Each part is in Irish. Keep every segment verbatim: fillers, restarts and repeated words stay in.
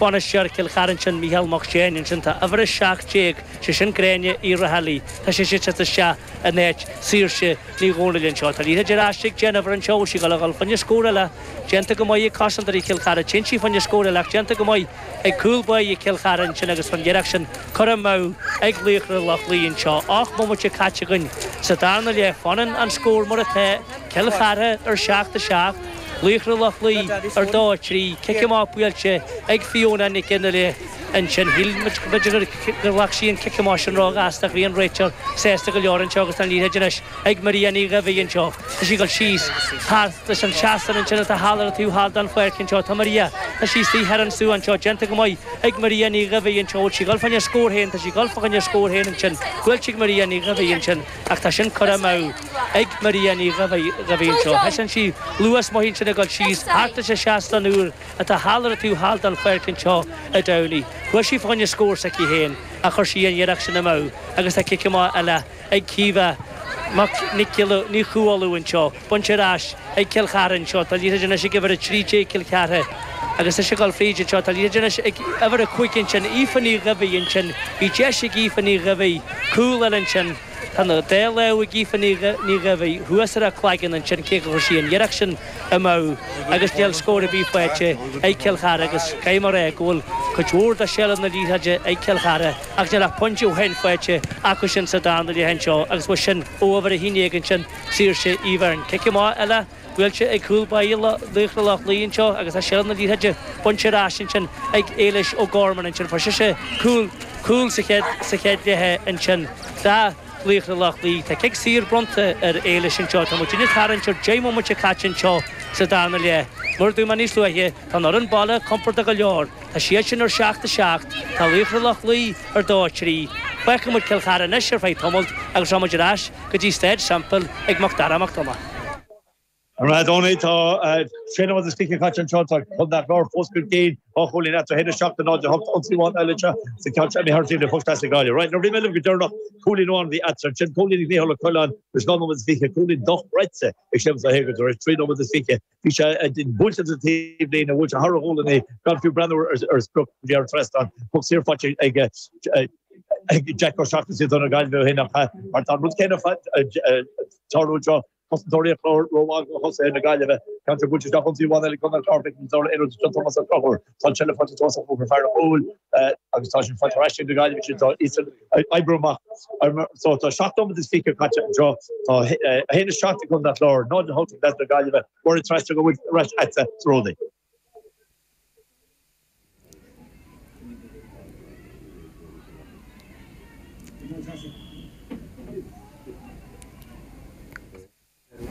Bainisteoir Chill Chartha ansin Mícheál Mac Séain ansin tá uimhir a seacht déag, sé sin Gráinne Uí Raghallaigh, tá sise ag teacht isteach in áit Saoirse Ní Dhomhnaill anseo. Tá liathróid ar ais ag Jennifer anseo, bhfuil sí ag dul a dhul fá choinne scór eile, déanta go maith ag cosantóirí Chill Chartha, téann sí fá choinne scór eile ach déanta go maith ag cúl báire Chill Chartha ansin agus an iarracht sin curtha amú ag Laochra Loch Lao anseo. Ocht mbomaite caite againn sa darna leath, fanann an scór mar atá, Cill Chartha ar seacht a seacht, Laochra Loch Lao ar dó a trí, cic amach buailte ag Fiona Nic Fhionnghaile ansin. Shíl muid b'fhéidir gur ghlac sí an cic amach sin róghasta ach bhí an réiteoir sásta go leor anseo agus tá an liathróid anois ag Maria Ní Dhuibhigh anseo. Tá sí ag dul síos thart leis an seastán ansin atá thall ar an taobh thall den pháirc anseo. Tá Maria, tá sí istigh thiar anseo anseo, déanta go maith ag Maria Ní Dhuibhigh anseo. Bhfuil sí ag dul fá choinne scór féin? Tá sí ag dul fá choinne scór féin ansin. Buailte ag Maria Ní Dhuibhigh ansin ach tá sin curtha amú ag Maria Ní Dhuibhigh anseo. Thaispeáin sí luas maith ansin ag dul síos thart leis an seastán úr atá thall ar an taobh thall den pháirc anseo i dTamhnaigh. Chuaigh sí fá choinne scór s'aici féin ach chuir sí an iarracht sin amú agus tá cic amach eile ag Caoimhe Mac Nic Giolla Ní Chualáin anseo. Bainte ar ais ag Cill Chartha anseo. Tá liathróid anois ag uimhir a trí déag Cill Chartha agus tá sé ag dul fríd anseo. Tá liathróid anois ag uimhir a cúig ansin, Aoife Ní Dhuibhigh ansin. Bhí deis ag Aoife Ní Dhuibhigh cúl eile ansin. Tá an dá lámh ag Aoife Ní Dhuibhigh thuas ar a cloigeann ansin cé gur chuir sí an iarracht sin amú agus níl scór ar bith faighte ag Cill Chartha agus caithfidh mé a rá go bhfuil cuid mhór de sheilbh na liathróide ag Cill Chartha ach níl ach pointe amháin faighte acu sin sa darna leath anseo agus bhuel sin ó uimhir a haon déag ansin Saoirse Uí Bheirn. Cic amach eile buailte ag cúl báire Laochra Loch Lao anseo agus tá seilbh na liathróide bainte ar ais ansin ag Éilis O'Gorman ansin. Fuair sise cúl cúl sa chéad sa chéad leath ansin do Laochra Loch Lao. Tá cic saor bronnta ar Éilis anseo. Tá muid ag tarraingt ar deich mbomaite caite anseo sa darna leath. Mar a dúirt mé níos luaithe, tá an fhoireann baile compordach go leor. Tá siad sin ar seacht a seacht, tá Laochra Loch Lao ar dó a trí. Fágfaidh muid Cill Chartha anois ar feadh tamaill agus rachaidh muid ar ais go dtí Staid Semple ag Mac Dara Mac Donncha. Right, Tony, tá sé nóiméad is fiche caite anseo, tá Contae an Chláir fós chun cinn, dhá chúilín eatarthu, a haon a seacht a náid a hocht, ionsaí amháin eile anseo sa cheann seo imithe thar taobh le poc trasna Gaillimh. Right, nuair a bhí mé libh go deireanach, cúilín amháin a bhí eatarthu ansin, cúilín ag Mícheál Ó Coileáin tar éis dhá nóiméad is fiche, cúilín dochreidte ag Séamus Ó hÉagoir tar éis trí nóiméad is fiche. Bhí sé buailte sa taobhlíne, bhuail sé thar a ghualainn é gan fiú breathnú ar sprioc go dtí ar an trasnán. Poc saor faighte ag ag Jack Ó Seachnasaigh do na Gaillimhe ó shin ach mar tá an rud céanna tarlú anseo. Cosantóirí an Chláir rómhaith do thosaithe na Gaillimhe. Ceann seo buailte isteach ionsaí amháin eile ag Contae an Chláir feicim Zora Aonrud anseo Tomás Ó Conchúir. Tá an tseilbh faighte Tomás Ó Conchúir fear an chúil agus tá sin faighte ar ais ag na Gaillimhe sin tá iadsan ag oibriú amach. So tá seacht nóiméad is fiche caite anseo. Tá a haon a seacht ag Contae an Chláir, náid a hocht ag leaids na Gaillimhe. Máire Treasa go bhfuil ar ais agatsa sa Ródaí.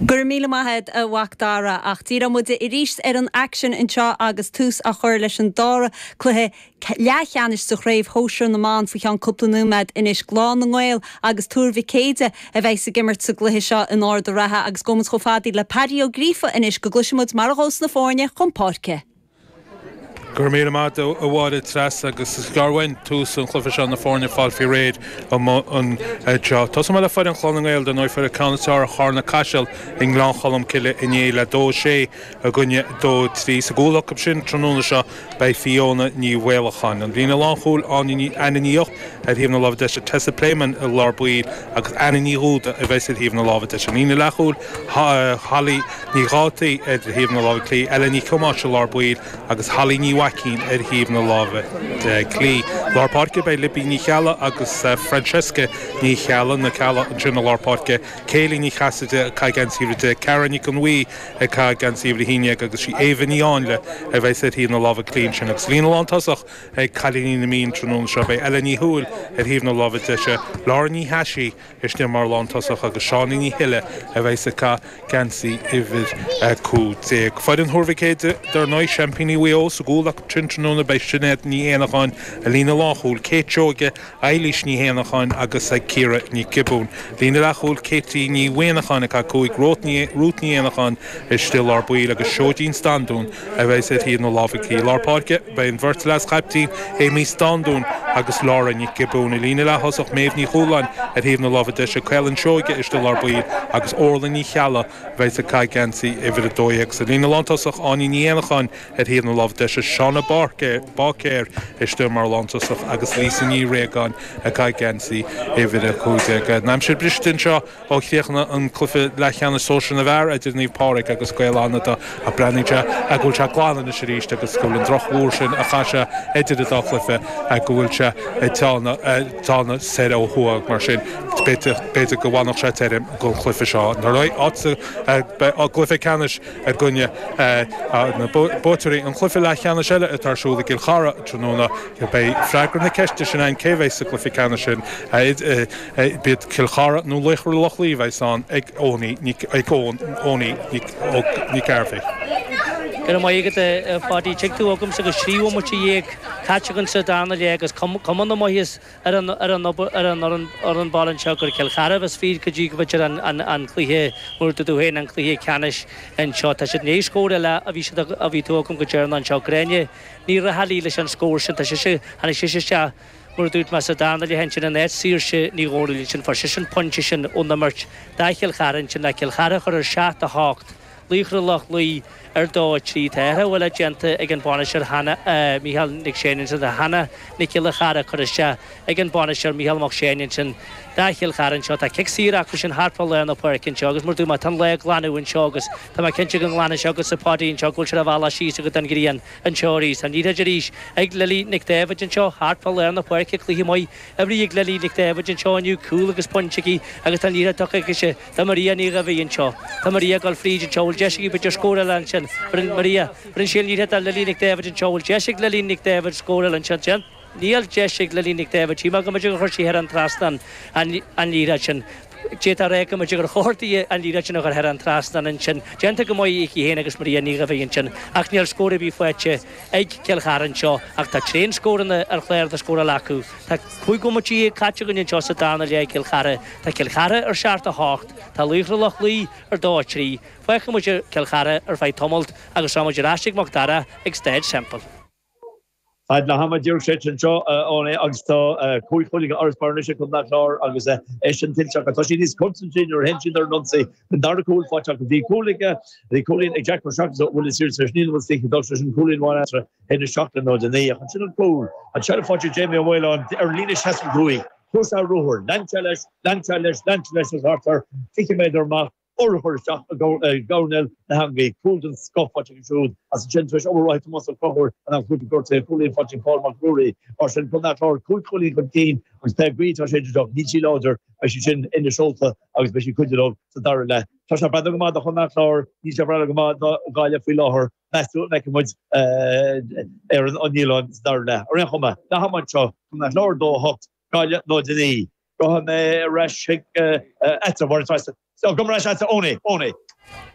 Go raibh míle maith agat a Mhac Dara, ach díreoidh muid arís ar an aicsean anseo agus tús á chur leis an dara cluiche leathcheannais de Chraobh Shóisir na mBan faoi cheann cúpla nóiméad anois. Gleann na nGael agus Tuar Mhic Éide a bheas ag imirt sa gcluiche seo in Ard a' Rátha agus gabhfaidh muid chomh fada le Paddy Ó Gríofa anois go gcloisfidh muid mar a ghabhfas na foirne chun páirce. Go raibh míle maith agat a Mháire Treasa agus is gearr uainn tús an chluiche seo na foirne ag fáil faoi réir anseo. Tosóidh mé le foireann Chlann na nGael dar ndóigh fuair ceann is fearr ar Charna Caiseal i nGleann Cholm Cille inné le dó a sé i gcoinne dó a trí. Sa gcúl acu sin tráthnóna seo beidh Fiona Ní Mhaolacháin. An líne lánchúil Anna Ní Eoch ar thaobh na láimhe deise, Tessa Playman i lár baill agus Anna Ní Dhúda a bheas ar thaobh na láimhe deise. An líne leathchúil Holly Ní Dhátaí ar thaobh na láimhe clí, Ella Ní Thomáis i lár baill agus Holly Ní Mhaicín ar thaobh na láimhe clí. Lár páirce beidh Libby Ní Cheallaigh agus Francesca Ní Cheallaigh, na Ceallaigh ansin i lár páirce, Kayleigh Ní Chasaide ag caitheamh geansaí uimhir a deich, Cara Nic an Bhuí ag caitheamh geansaí uimhir a haon déag agus sí Éabha Ní Áinle a bheas ar thaobh na láimhe clí ansin. Agus líne lántosach ag cailíní na Mí an tráthnóna seo beidh Ella Ní Thuathail ar thaobh na láimhe deise, Laura Ní Thaisí istigh mar lántosach agus Seánie Ní Thuile a bheas ag caitheamh geansaí uimhir a cúig déag. Foireann Thuar Mhic Éide, dar ndóigh, seaimpíní Mhaigh Eo sa gcúl acu sin tráthnóna beidh Sinéad Ní Éanacháin i líne lánchúil, Kate Seoige, Eilís Ní Éanacháin agus Ciara Ní Ghiobúin. Líne leathchúil, Katie Ní Mhuineacháin ag caitheamh cúig, Ruth Ní Ruth Ní Éanacháin istigh i lár baill agus Seoidín Standún a bheas ar thaobh na láimhe clí. I lár páirce, beidh an bheirt leas-chaiptín, Amy Standún agus Laura Nic Giobúin. I líne leath-thosach, Méabh Ní Chualáin ar thaobh na láimhe deise, Caolann Seoige istigh i lár baill agus Orla Ní Cheallaigh a bheas ag caitheamh geansaí uimhir a dó dhéag. Sa líne lántosach, Áine Ní Éanacháin ar thaobh na láimhe deise, Shauna Báicéir istigh mar lántosach agus Lisa Ní Réagáin ag caitheamh geansaí uimhir a cúig déag. An aimsir briste anseo ó chríochnaigh an cluiche leathcheannais sóisir na bhfear idir Naomh Pádraig agus Gaeil Fhánada ach breathnaíonn sé go bhfuil sé glan anois arís agus go bhfuil an drochmhúr sin a chaith sé idir an dá chluiche go bhfuil sé ag teannadh soir ó thuaidh mar sin b'fhéidir go bhfanfadh sé tirim don chluiche seo. Nuair a gcluiche ceannais i gcoinne na buaiteoirí an chluiche leathcheannais eile atá ar siúl i gCill Chartha tráthnóna beidh freagra na ceiste sin ann cé bheidh sa gcluiche ceannais sin b'iad Cill Chartha nó Laochra Loch Lao a bheidh ann ag Eoin Nic Gairbhí. Go raibh maith agat a Pháidí. Tig tú agamsa agus trí bhomaite dhéag caite againn sa darna leath agus cuma na maitheas ar an ar an ar an ar an baile anseo gur Cill Chartha a bheas fríd go dtí go bhféidir an an an cluiche mar tú féin an cluiche ceannais anseo. Tá siad naoi scór eile a bhí siad a bhí tú agam go deireanach anseo. Gráinne Ní Raghallaigh leis an scór sin. Tá sise tháinig sise isteach mar a dúirt mé sa darna leath ansin in áit Saoirse Ní Dhomhnaill ansin. Fuair sise an pointe sin ón imirt do Chill Chartha ansin le Cill Chartha a chur ar seacht a hocht. Laochra Loch Lao ar dó a trí. Tá athrú eile déanta ag an bainisteoir Hannah Mícheál Nic Seáin ansin. Tá Hannah Nic Giolla Chara curtha isteach ag an bainisteoir Mícheál Mac Seáin ansin do Chill Chartha anseo. Tá cic saor acu sin thart fá lár na páirce anseo agus mar dúirt mé tá an lá ag glanadh anseo agus tá mé cinnte go nglanfaidh sé agatsa Páidí anseo go bhfuil sé ar a bhealach síos agat an ghrian anseo arís. Tá an liathróid arís ag Lily Nic Daibhéid anseo thart fá lár na páirce. Cluiche maith oibrithe ag Lily Nic Daibhéid anseo inniu, cúl agus pointe aici agus tá an liathróid tugtha aici do Maria Ní Dhuibhigh anseo. Tá Maria ag dul fríd anseo, bhfuil deis aici b'fhéidir scór eile ansin. Bhronn Maria, bhronn sí an liathróid ar Lily Nic Daibhéid anseo, bhfuil deis ag Lily Nic Daibhéid scór eile ansin. Níl deis ag Lily Nic Daibhéid, shíl mé go mb'fhéidir gur chuir sí thar an trasnán an liathróid sin. D'fhéadfá a rá go mb'fhéidir gur chóir di an liathróid sin a chur thar an trasnán ansin. Déanta go maith aici féin agus Maria Ní Dhuibhigh ansin ach níl scór ar bith faighte ag Cill Chartha anseo ach tá tréan scóranna ar chlár na scórála acu. Tá cúig bhomaite dhéag caite againn anseo sa darna leath ag Cill Chartha. Tá Cill Chartha ar seacht a hocht, tá Laochra Loch Lao ar dó a trí. Fágfaidh muid Cill Chartha ar feadh tamalt agus tá muid ar ais ag Mac Dara ag Staid Semple. Fad le hama d'iarr sé anseo ón é agus tá cúig chúilín d'fharasbarr anois ag Contae an Chláir agus é sin tuillte acu. Tá siad níos constantaí nuair a théann siad ar an ionsaí. An dara cúl faighte acu. Bhí cúl ag bhí cúilín ag Jack Mac Seachnaigh bhfuil is ar níl bhfuil stíche dul sin cúilín amháin eatarthu a haon a seacht le náid a naoi. Ach ansin an cúl an seilbh faighte ag Jamie Ó Maoláin ar líne seasca cúig. Chuir sé a ruathar. Lean sé leis, lean sé leis, lean sé leis agus thart ar fiche méadar amach urchar isteach i gcoirnéal na heangaí. Cúl den scoth faighte acu siúd agus ansin tar éis obair mhaith Tomás Ó Conchúir in am cúpla gortaithe, cúilín faighte ag Paul Mac Ruairí. Mar sin, Contae an Chláir cúig chúilín chun cinn agus pé gaoth atá ag séideadh, níl sí láidir, beidh sí sin ina seolta agus beidh sí ag cuidiú leo sa dara leath. Tá sé ag breathnú go maith do Chontae an Chláir, níl sé ag breathnú go maith do Ghaillimh faoi láthair. Meas tú an bhfeicfidh muid ar an liathróid sa dara leath? Ar aon chuma, leath ama anseo, Contae an Chláir dó a hocht, Gaillimh náid a naoi. Gabhfaidh mé ar ais chuig agatsa, a Mháire Treasa. So, gabh ar ais agatsa, Eoiní, Eoiní.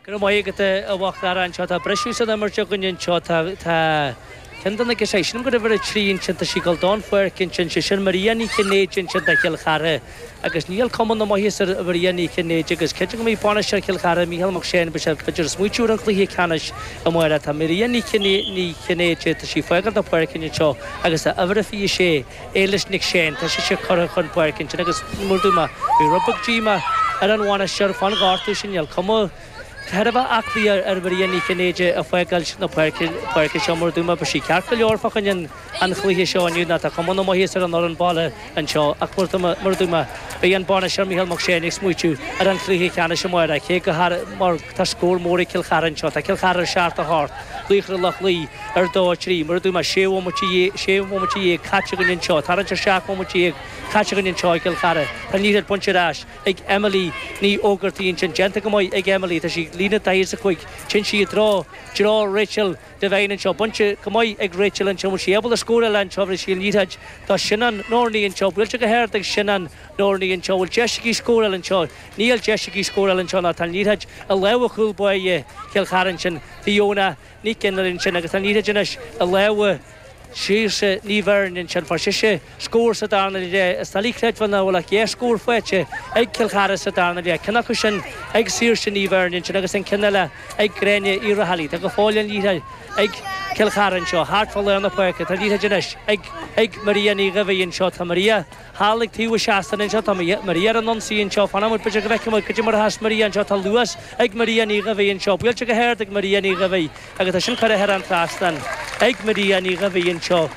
Go raibh maith agat, a Mhac Dara. Anseo tá briseadh san imirt againn anseo. Tá, tá ceann de na girseachaí, sílim gur uimhir a trí ansin, tá sí ag dul don pháirc ansin, sé sin Maria Ní Chinnéide ansin do Chill Chartha agus níl cuma na maitheasa ar Mharia Ní Chinnéide agus cinnte go mbeidh bainisteoir Chill Chartha, Mícheál Mac Seáin, beidh sé b'fhéidir ag smaoitiú ar an chluiche ceannais amárach. Tá Maria Ní Chinnéide, tá sí ag fágáil na páirce anseo agus tá uimhir a fiche sé, Éilis Nic Seáin, tá sise curtha chun páirce ansin agus mar a dúirt mé, bhí rud beag díomá ar an bhainisteoir fán ghortú sin, níl cuma thar a bheith aclaí ar Mharia Ní Chinnéide ag fágáil na páirce seo mar a dúirt mé, beidh sí ceart go leor fá choinne an chluiche seo inniu ná tá cuma na maitheasa ar an fhoireann baile anseo ach mar a dúirt mé, beidh an bainisteoir Mícheál Mac Seáin ag smaoitiú ar an chluiche ceannais amárach cé go mar tá scór mór ag Cill Chartha anseo, tá Cill Chartha ar seacht a hocht, Laochra Loch Lao ar dó a trí, mar a dúirt mé, sé bhomaite dhéag caite againn anseo, tarraingt ar seacht mbomaite dhéag caite againn anseo i gCill Chartha. Tá an liathróid bainte ar ais ag Emily Ní Ógartaigh ansin, déanta go maith ag Emily, tá sí ag líne daichead is a cúig, téann sí i dtreo, dtreo Rachel Devine anseo, bainte go maith ag Rachel anseo, bhfuil sí ábalta scóráil anseo, bhris sí an liathróid do Sinéad Nerney anseo, buailte go hard ag Sinéad Nerney anseo, bhfuil deis aici scóráil anseo, níl deis aici scóráil anseo ná tá an liathróid i lámha chúl báire Chill Chartha ansin, Fiona Nic Fhionnghaile ansin agus tá an liathróid anois i lámha Saoirse Ní Bheirn ansin. Fuair sise scór sa darna leath. Is doiligh a chreidbheáil nach bhfuil ach dhá scór faighte ag Cill Chartha sa darna leath. Ceann acu sin ag Saoirse Ní Bheirn ansin agus an ceann eile ag Gráinne Uí Raghallaigh. Tá go fóill an liathróid ag Cill Chartha anseo thart fá lár na páirce. Tá liathróid anois ag ag Maria Ní Dhuibhigh anseo. Tá Maria thall ag taobh an tseastáin anseo. Tá Maria ar an ionsaí anseo. Fanfaidh muid b'fhéidir go bhfeicfidh muid cad é mar a sheas Maria anseo. Tá luas ag Maria Ní Dhuibhigh anseo. Buailte go hard ag Maria Ní Dhuibhigh agus tá sin curtha thar an trasnán ag Maria Ní Dhuibhigh anseo.